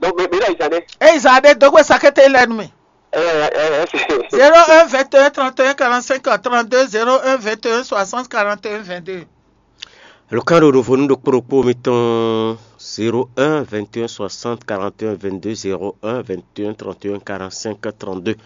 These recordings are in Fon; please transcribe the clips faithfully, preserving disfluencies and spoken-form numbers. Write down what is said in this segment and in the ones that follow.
Donc, mais, mais là, ils en est. Eye zan ɖé dó gbe sakete lɛ nú mì. Eh, eh, eh, c'est- zéro un vingt et un trente et un quarante-cinq trente-deux, zéro un vingt et un soixante quarante et un vingt-deux. Lukan ɖo ɖovo nú ɖokpó ɖokpó mitɔn zéro un vingt et un soixante quarante et un vingt-deux, zéro un vingt et un trente et un quarante-cinq trente-deux.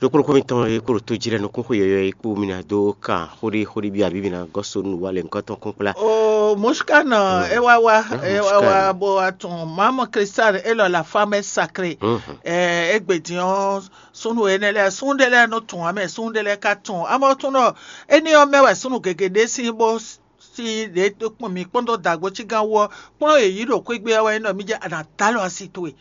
Ɖokpó ɖokpó mitɔn e kpo ɖo tó jí lɛ́ɛ nukún xwe yɔyɔ e kpo mi ná dó kan xóɖé xóɖé byɔ́ abǐ mi ná gɔ́ so nú wa lɛ nukɔn tɔn kún kplá. O Mushkan, e wá wá, e wá wá bó wá tún Maman Cristal élɔ́ la femme sacrée. Égbé din ɔ́, súnnu énɛ́ lɛ́ɛ, súnnu ɖé lɛ́ɛ nɔ tún amɛ, súnnu ɖé lɛ́ɛ ka tún. Amɔ tún ɖɔ éní ɔ́ mɛ wɛ súnnu gěgé ɖé sín bó sí ɖě kpɔ́n mǐ kpɔ́n dó dǎgbó cígán wú ɔ́, kplɔ́n yě yí ɖo xwé gbe ɔ́ wɛ é nɔ mì jɛ a nǎ dó alɔ asi towe.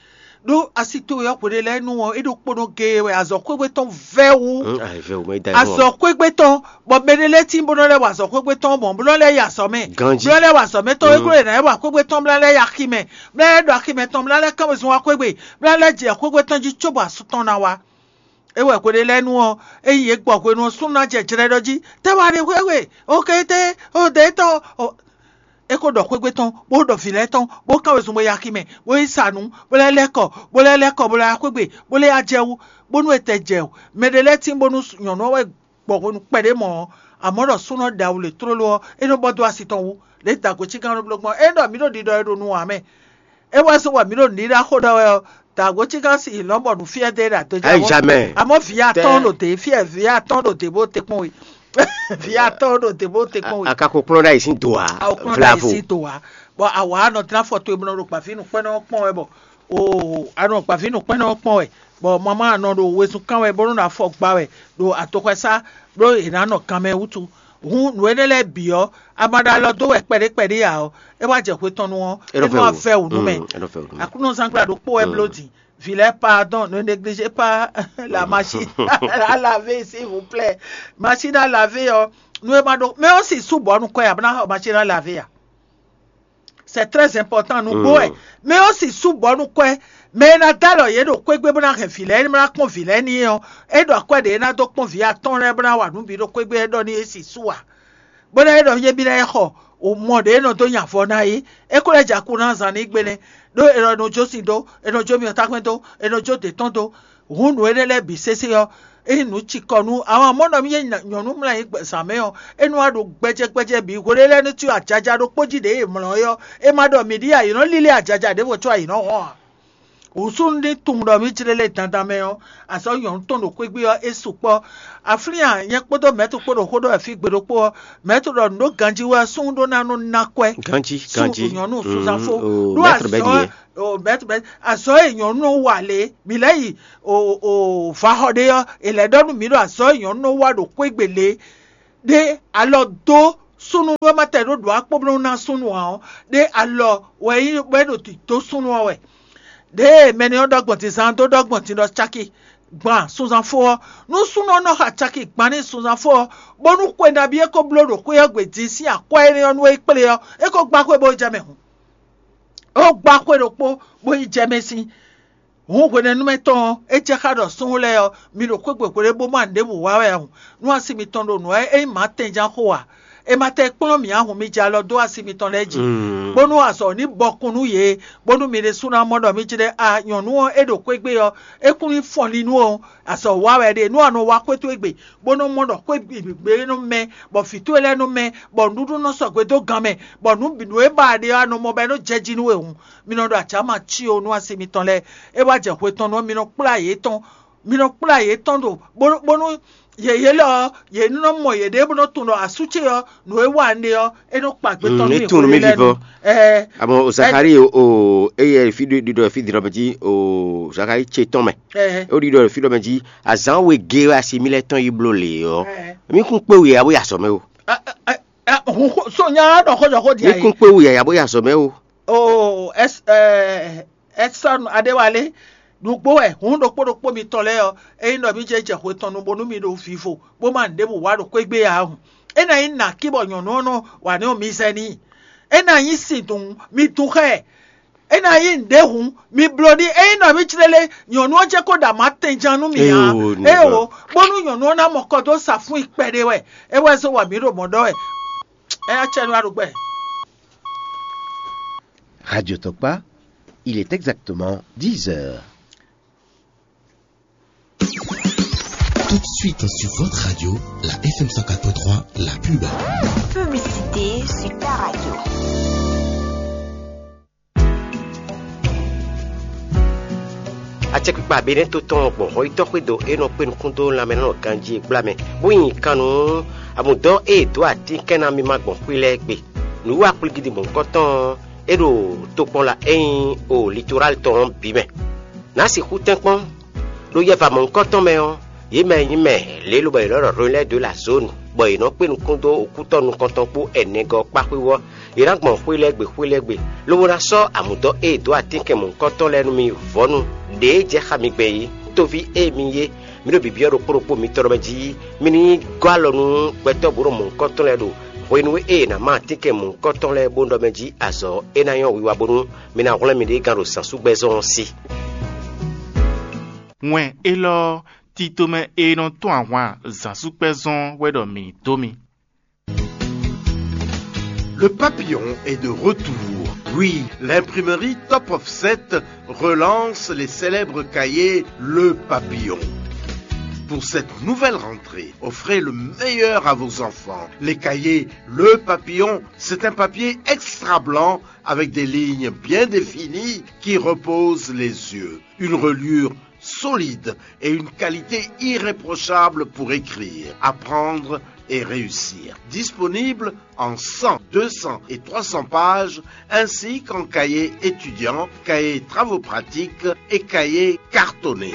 Ɖó asi towe ɔ́ hweɖé lɛ́ɛ nu ɔ́, é ɖo kpónɔ géé wɛ, azɔ̌ xwé gbe tɔn vɛ́ wú. Azɔ̌ xwé gbe tɔn, bɔ mɛ ɖé lɛ́ɛ tín bó nɔ lɛ́ wa azɔ̌ xwé gbe tɔn mɔ̌, bó nɔ lɛ́ yi azɔ̌ mɛ. Bó nɔ lɛ́ wa azɔ̌ mɛ tɔn, é glɔ́ yě ná lɛ́ wa xwé gbe tɔn bó ná lɛ́ yi axi mɛ, bó ná lɛ́ ɖo axi mɛ tɔn, bó ná lɛ́ kán wezun wá xwé gbe, bó ná lɛ́ jɛ xwé gbe tɔn jí cóbɔ asú tɔn ná wá. É wɛ hweɖé lɛ́ɛ nu ɔ́, é yi yě gbɔ hwenu ɔ́, súnnu ná jɛ jlɛ́ ɖɔ jí, tɛ́ wá ɖe hwéhwe, okété, odě tɔn. É ko ɖɔ xwé gbe tɔn, bó ɖɔ vǐ lɛ́ɛ tɔn, bó kán wezun bó yi axi mɛ, bó yi sa nǔ, bó lɛ́ lɛ́ kɔ, bó lɛ́ lɛ́ kɔ, bó lɛ́ wá xwé gbe, bó lɛ́ yá jɛ wú, bónú è tɛ jɛ o. Mɛ ɖé lɛ́ɛ tín bónú nyɔ̌nu ɔ́ wɛ gbɔ hwenu kpɛɖé mɔ̌ ɔ́, amɔ̌ ɖɔ súnnu ɔ́ ɖe awu lě tlóló ɔ́, é nɔ bɔ dó asi tɔn wú, lě dǎgbo cígán nɔ bló gbɔn. É ɖɔ mǐ ɖo ɖiɖɔ e ɖo nu ǎ mɛ. É wɛ zɔn bɔ mǐ ɖo nǔɖiɖa xó ɖɔ wɛ ɔ́, dǎgbo cígán si lɔ̌n bɔ nǔ fyɛ́ dé ɖo adó jɛ. Amɔ̌ vǐ atɔ́n ɖo dě fyɛ́, vǐ atɔ́n ɖo dě bó te kpɔ́n we. Vǐ atɔ́n ɖo dě bó te kpɔ́n we. Akako kplɔ́n ɖ'ayǐ sín do ǎ. Awo kplɔ́n ɖ'ayǐ sín do ǎ. Bɔ awǎ nɔ dlán afɔ towe bó nɔ ɖo gbǎvínǔkpɛ́nɔ ɔ́ kpɔ́n wɛ bɔ o anɔ gbǎvínǔkpɛ́nɔ ɔ́ kpɔ́n wɛ, bɔ mamá nɔ ɖo wezun kán wɛ bó nɔ afɔ gba wɛ ɖo atoxɔsá, bló è nǎ nɔ kanmɛ wútu. Hǔn nǔ énɛ́ lɛ́ɛ bǐ ɔ́, a ma ɖo alɔ dó wɛ kpɛɖé kpɛɖé ǎ ɔ́, é wá jɛ hwe tɔn nu ɔ́, é nɔ wá vɛ́ wǔ nú mɛ. Aklúnɔzángbla ɖokpó wɛ bló din. Vǐ lɛ́ɛ, pardon, ne négligez pas la machine à laver, s'il vous plaît. Machine à laver ɔ́, nú é ma ɖó mɛ ɔ́ si sú bɔ nukɔn ya bó ná xɔ machine à laver ya. C'est très important nú gbó wɛ. Mɛ ɔ́ si sú bɔ nukɔn ɛ, mɛ e ná dó alɔ yě ɖo xwé gbe bó ná hɛn vǐ lɛ́ɛ ní bó ná kpɔ́n vǐ lɛ́ɛ ní ɔ́, é ɖo akwɛ́ ɖě é ná dó kpɔ́n vǐ atɔ́ɔ́n lɛ́ɛ bó ná wa nǔ bǐ ɖo xwé gbe é ɖɔ n'i é si sú ǎ. Bó ná é ɖɔ nyɛ bí ná é xɔ o mɔ ɖě é nɔ dó nya avɔ ná é, é ko lɛ́ jɛ akú ná zan ní gbe nɛ́, ɖó è nɔ nɔ jó sin dó, è nɔ jó myɔtákpɛ́n dó, è nɔ jó dě tɔn dó. Hǔn nǔ énɛ́ lɛ́ɛ bǐ sésé ɔ́, é nyí nǔ cikɔ nú àwọn amɔ̌ nɔ mì nyɔ̌nu mlá nyí zǎn mɛ ɔ́, é nɔ wá ɖo gbɛjɛ gbɛjɛ bǐ hweɖé lɛ́ɛ nú cyɔ ajaja ɖokpó jí ɖě è mlɔ́ é ɔ́, é ma ɖɔ mǐ ɖíe ayǐ nɔ lílé ajaja ɖěvo có ayǐ nɔ hɔn ǎ. Wǔsú ní tunwun ɖɔ mǐ jlé lé dandan mɛ ɔ́, azɔ̌ nyɔ̌nu tɔn ɖo xwégbé ɔ́, é sukpɔ́. Aflín a, nyɛ kpódó mɛ̌tu kpó ɖo xó ɖɔ wɛ fí gbe ɖokpó ɔ́, mɛ̌tu ɖɔ nǔ ɖó ganjí wɛ ɔ́, súnnu ɖó ná nɔ ná kwɛ́. Ganjí, ganjí. Nyɔ̌nu suzanfó. Ɖó azɔ̌ o mɛ̌tu mɛ̌tu azɔ̌ e nyɔ̌nu nɔ wa lě, mǐ lɛ́ yi o o vaxɔ ɖé ɔ́, è lɛ̌ ɖɔ nú mǐ ɖɔ azɔ̌ e nyɔ̌nu nɔ wa ɖo xwégbé lě ɖé alɔ dó Súnnu ɖó ma tɛ ɖó ɖǒ akpó bó nɔ́ ná súnnu ǎ ɔ́, ɖé alɔ wɛ é nyí bɔ é ɖo dǐdó súnnu ɔ́ wɛ. Ɖěe mɛ nɛ́ ɔ́ ɖɔ gbɔn din zán dó ɖɔ gbɔn din ɖɔ cáki gban sunzanfó ɔ́, nú súnnu ɔ́ nɔ xa cáki gban n'i sunzanfó ɔ́, bónú xwe nabí é ko bló ɖo xwé ɔ́ gbe din sín akwɛ́ énɛ́ ɔ́ nú é kplé ɔ́, é ko gbá xwé bó jɛ mɛ hǔn. É ko gbá xwé ɖokpó bó yi jɛ mɛ sín. Hǔn hwenɛ́númɛ tɔn ɔ́, é jɛ xá ɖɔ súnnu lɛ́ɛ ɔ́, mi ɖo xwé gbe hwelé bó ma nǔɖébǔ wa wɛ a hǔn, nú asi mitɔn ɖo nǔ wɛ é nyí mǎtɛnjan xo ǎ. È ma tɛ kplɔ́n mǐ ǎ hǔn, mi jɛ alɔ dó asi mitɔn lɛ́ɛ jí, bónú azɔ̌ ní bɔkun nú yě, bónú mi ɖésú ná mɔ ɖɔ mí jlɛ́ a nyɔ̌nu ɔ́ é ɖo xwé gbe ɔ́, é kún nyí fɔnlín nú ɔ́, azɔ̌ wa wɛ ɖe nú a nɔ wá xwé towe gbe, bó nɔ́ mɔ ɖɔ xwé gbe nɔ mɛ, bɔ vǐ towe lɛ́ɛ nɔ mɛ, bɔ nǔɖuɖu nɔ sɔgbe dó gan mɛ, bɔ nǔ bǐ nǔ e ba a ɖe ɔ́, a nɔ mɔ bɔ é nɔ jɛ jí nú we hǔn, mi nɔ ɖo acǎma cí o nú asi mitɔn lɛ́ɛ. É wá jɛ hwe tɔn nú ɔ́, mi nɔ kplá yě tɔn, mi nɔ kplá yě tɔn ɖo bónú yě yě lɔ ɔ́, yě ní nɔ mɔ yěɖée bó nɔ́ tunwun ɖɔ asú ce ɔ́, nǔ e wa un ɖe ɔ́, é nɔ kpa gbé tɔn nú mǐ. É tunwun nú mí vivɔ. Ɛɛ, àmọ́ o Zakari o, o eye fi ɖiɖɔ fi dǐnɔ mɛ jí, o Zakari ce tɔn mɛ. Ɛɛ, o ɖiɖɔ fi ɖɔ mɛ jí, azán we gé wɛ asi mi lɛ tɔn yi bló lě ɔ́, ɛɛ, mi kún kpé wu yɛ abo ya sɔ mɛ o. Ɛ, ɛ, ɛ, ɛ, hun xo- so nya ɖɔ xó jɔ xó di Mi ayi. Kún kpé wu yɛ abo ya sɔ mɛ o. O ɛs ɛ ɛsɔn adéwálé, nǔgbó wɛ hǔn ɖokpó ɖokpó mitɔn lɛ́ɛ ɔ́, ényí ɖɔ mí jɛ jɛ hwe tɔn nu bónú mi ɖo vivo, bó ma nǔɖébǔ wa ɖo xwé gbé ǎ hǔn, é ná nyí nǎ kí bɔ nyɔ̌nu ɔ́ nɔ wa nɛ́ ɔ́ mi zɛ n'i. É ná nyí sin dun mi dun xá ɛ. É ná nyí nǔɖé hǔn, mi bló ɖi ényí nɔ mí clélé nyɔ̌nu ɔ́ jɛ kó ɖo amǎ tɛnjan nú mì ǎ. Éeǒ, bónú nyɔ̌nu ɔ́ ná mɔ kɔ dó sa fún i kpɛɖé wɛ. É wɛ zó wa mǐ ɖo mɔ̌ ɖɔ wɛ. É ná cɛ nú aɖugbɛ. Radio Tokpa, il est exactement dix heures. Tout de suite sur votre radio, la F M cent quatre point trois, la pub. Publicité sur ta radio. Acɛkpikpa Benɛ́to tɔn gbɔn hɔyítɔ́ xwédo e nɔ kpé nukún dó lanmɛ nɔ ganjí e gbla mɛ, bó nyi kan nú amǔdɔ́ e è dǒ atínkɛn ná mímá gbɔn xwé lɛ́ɛ gbe. Nǔwiwa kplígídi mɔ̌hunkɔtɔn ɔ́, é ɖo tokpɔnla e nyí o Litoral tɔn ɔ́ bǐ mɛ. Nǎ sixú tɛ́nkpɔ́n, ɖó yɛva mɔ̌hunkɔtɔn mɛ ɔ́, yě mɛ e nyí mɛ lě lobɔ è nɔ ɖɔ Relais de la Zone, bɔ è nɔ kpé nukún dó okútɔ́ nukɔntɔn kpó ɛnɛgɔ́ kpá xwíwú ɔ́, yě ná gbɔn xwé lɛ́ɛ gbe xwé lɛ́ɛ gbe, lobo ná sɔ́ amǔdɔ́ e è dǒ atínkɛn mɔ̌hunkɔtɔn lɛ́ɛ nú mi vɔ̌nu ɖě e jɛ xá mi gbɛn é. Tóví e mi nyí é, mi ɖo bǐbíɔ́ ɖokpó ɖokpó mitɔn ɖɔ mɛ jí, mi ní gɔ́ alɔ nú gbɛtɔ́ bǔ ɖo mɔ̌hunkɔtɔn lɛ́ɛ ɖo hwenu e è nǎ má atínkɛn mɔ̌hunkɔtɔn lɛ́ɛ bó ɖɔ mɛ jí azɔ̌ é ná nyɔ́ wiwa bónú mi ná hwlɛ́n miɖée gán ɖo zǎnsúgbɛ́zɔn ɔ́ sí. Wɛn élɔ́ ɔ́, titomɛ e nɔ tɔ́n ahwan zǎnsúkpɛ́zɔ́n wɛ ɖɔ mǐ dó mi. Le Papillon est de retour. Oui, l'imprimerie Top Offset relance les célèbres cahiers Le Papillon. Pour cette nouvelle rentrée, offrez le meilleur à vos enfants. Les cahiers Le Papillon, c'est un papier extra blanc avec des lignes bien définies qui reposent les yeux. Une reliure solide et une qualité irréprochable pour écrire, apprendre et réussir. Disponible en cent, deux cents et trois cents pages, ainsi qu'en cahier étudiant, cahier travaux pratiques et cahier cartonné.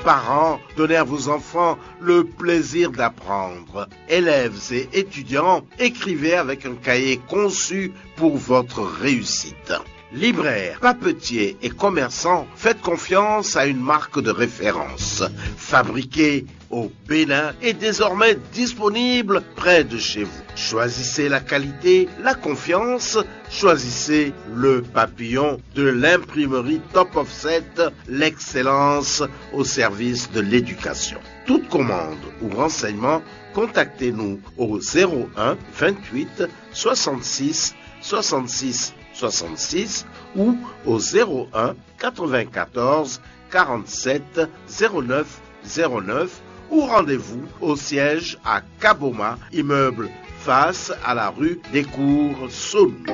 Parents, donnez à vos enfants le plaisir d'apprendre. Élèves et étudiants, écrivez avec un cahier conçu pour votre réussite. Libraires, papetiers et commerçants, faites confiance à une marque de référence. Fabriquée au Bénin et désormais disponible près de chez vous. Choisissez la qualité, la confiance, choisissez Le Papillon de l'imprimerie Top Offset, l'excellence au service de l'éducation. Toute commande ou renseignement, contactez-nous au zéro un vingt-huit soixante-six soixante-six soixante-six ou au zéro un quatre-vingt-quatorze quarante-sept zéro neuf zéro neuf ou rendez-vous au siège à Kaboma, immeuble face à la rue des Cours Saône.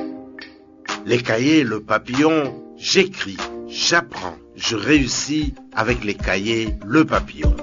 Les cahiers Le Papillon, j'écris, j'apprends, je réussis avec les cahiers Le Papillon.